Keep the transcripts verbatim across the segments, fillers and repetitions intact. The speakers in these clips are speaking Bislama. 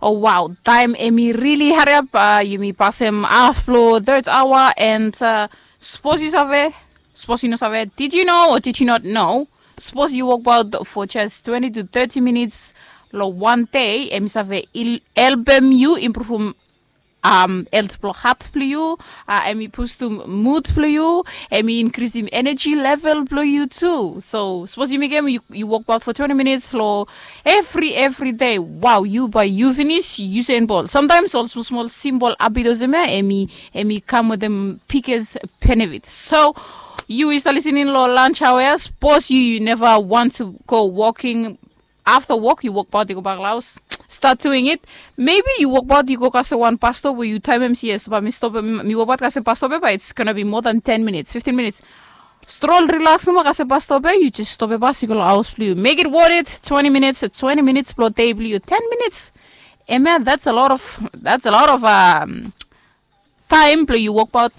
Oh wow, taem em i rili hariap. Yumi pasem haf blong third hour and sapos yu save, sapos yu no save, did you know or did you not know? Sapos yu wokbaot for just twenty to thirty minits long wan dei, em i save helpem yu impruvum health blong hat blong yu. Em i pustum mud blong yu. Em i inkrisim eneji level blong yu tu. So sapos yu mekem yu wokbaot for twenty minits long evri evri dei, wow, yu bae yu finis Usain Bolt. Samtaems ol smol smol simpol abit olsem ya em i em i kam wetem biggest benefits. So yu i stap lisening long lunch hour ya, sapos yu yu neva want to go walking afta wok yu wokbaot yu go bak long haos, start doing it. Maybe yu wokbaot yu go kasem wan bus stop we yu taem em si yes bae mi stop mi wokbaot kasem bus stop ya bae it's gonna be more than ten minutes, fifteen minutes. Strol rilaks nomo kasem bus stop ya, yu jes stop ya bas yu go long haos blong yu. Make it worth it. Twenty minutes, twenty minutes blong dei blong yu, ten minutes. Em ya that's a lot of that's a lot of um, taem blong yu wokbaot.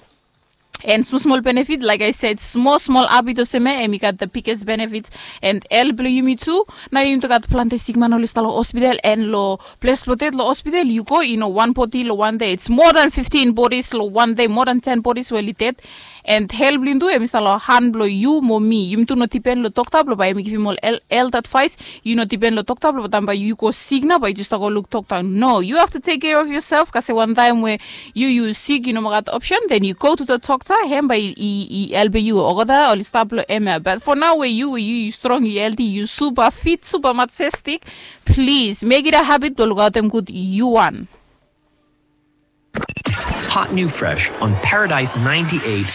And smol smol benefit, like I said, smol smol abit olsem ya em i gat the biggest benefit. And el blong yumi tu, nao yumi tu gat plante sikman oli stap long hospital and long ples blong ded long hospital yu go i no wan bodi long wan dei, it's more than fifteen bodies long wan dei, more than ten bodies we oli ded. And hel blong yumi tu em i stap long han blong yu mo mi. Yumi tu no dipen long dokta blong bae em i givim ol health advais. Yu no dipen long dokta blong taem bae yu go sik nao bae yu jes stap go luk dokta. No, yu have to take care of yourself kasem wan taem we yu yu sik yu no moa gat option, then yu go to the dokta, hem bae i helpem yu olgeta oli stap long em ya. But for nao we yu we yu yu strong yu helti yu supa fit supa majestik, plis mek it a habit blong lukaotem gud yu wan. Hot new fresh on Paradise ninety-eight.